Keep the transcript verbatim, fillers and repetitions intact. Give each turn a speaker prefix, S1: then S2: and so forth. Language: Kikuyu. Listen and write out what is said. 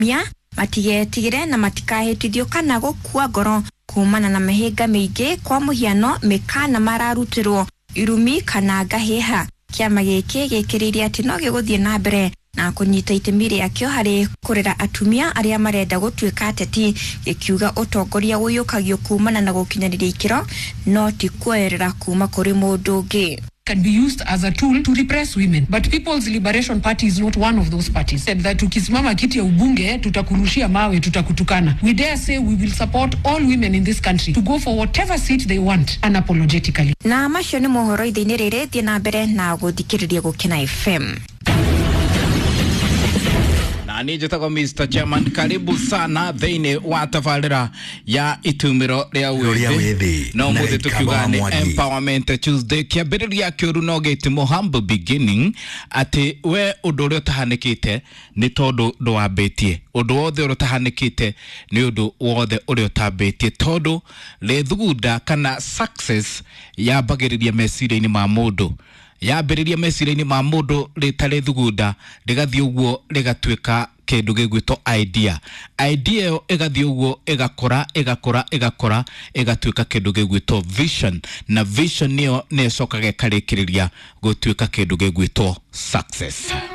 S1: Atumia matigetigĩre na matikahĩtithio kana gũkua ngoro kumana na mĩhĩnga mĩingĩ, kwa mũhiano mĩkana mararutĩrwo, irumi kana ngahĩha. Kĩama gĩkĩ gĩkĩrĩirie atĩ no gĩgũthiĩ na mbere na kũnyita itemi rĩakĩo harĩ kũrera atumia arĩa marenda gũtuĩka ateti, gĩkiuga ũtongoria ũiyũkagio kumana na gũkinyanĩria ikĩro no ti kuoerera kuma kũrĩ mũndũ ũngĩ.
S2: Can be used as a tool to repress women. But People's Liberation Party is not one of those parties. Said that ukisimama kiti ya ubunge, tutakurushia mawe, tutakutukana. We dare say we will support all women in this country to go for whatever seat they want unapologetically.
S1: Na macio nĩ mohoro ithe-inĩ rĩrĩ. Thiĩ na mbere na gũthikĩrĩria Gũkena F M.
S3: Na niĩ njĩtagwo Mister Chairman. Karibu sana thĩinĩ wa tabarĩra ya itumĩro rĩa
S4: Rĩa
S3: wĩthĩ.
S4: Wĩthĩ,
S3: no
S4: na
S3: mũthĩ
S4: Gĩkamba
S3: tũkiuga
S4: wa
S3: nĩ
S4: Mwangi.
S3: Empowerment Tuesday. Kĩambĩrĩria kĩũru no gĩtimo, humble beginning, atĩ we ũndũ ũrĩa ũtahanĩkĩte nĩ tondũ ndwambĩtie. Ũndũ wothe ũrĩa ũtahanĩkĩte nĩ ũndũ wothe ũrĩa ũtambĩtie, tondũ rĩthugunda kana success yambagĩrĩria meciria-inĩ ma mũndũ, yambĩrĩria meciria-inĩ ma mũndũ rĩtarĩ thugunda, rĩgathiĩ ũguo rĩgatuĩka kĩndũ gĩgwĩtwo idea. Idea ĩyo ĩgathiĩ ũguo ĩgakũra, ĩgakũra, ĩgakũra, ĩgatuĩka kĩndũ gĩgwĩtwo vision, na vision nĩyo nĩyo ĩcokaga ĩkarĩkĩrĩria gũtuĩka kĩndũ gĩgwĩtwo success.